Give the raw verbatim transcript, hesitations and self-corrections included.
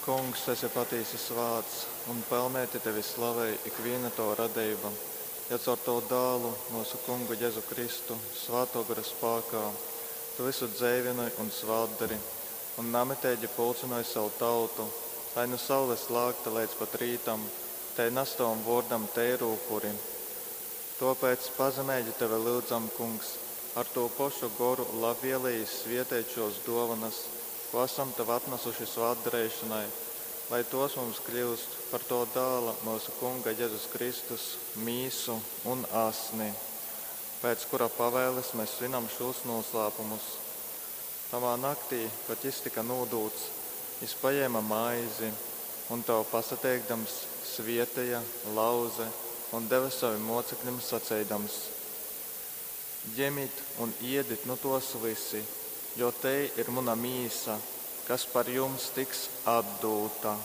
Kungs, tu esi patīsi svāts, un pelnēti tevi slavej ikvīna tova radeiba, jo caur tavu dālu, mūsu kungu Jezu Kristu, svātō gara spākā, tu visu dzeivynoj un svātdari, un namiteigi pulcynoj savu tautu, lai nu saules lākta leidz pat rītam, tei nas tavam vōrdam teiru upuri. Tōpēc pazemeigi tevi lyudzam, Kungs, ar tū pošu goru labvēlīgi svieteit šos dōvanas, ko esam tev atnasuši svātdareišanai, lai tos mums kļūst par to dāla mūsu Kunga Jezus Kristus mīsu un asni, pēc kura pavēles mēs svinam šos noslēpumus. Tamā naktī, kad jis tika nūdūts, jis paņēma maizi un tev pasateikdams svieteja, lauze un deva savim mocekļiem saceidams: Ņemit un iedit nu tos visi, jo te ir muna mīsa, kas par jums tiks atdūta.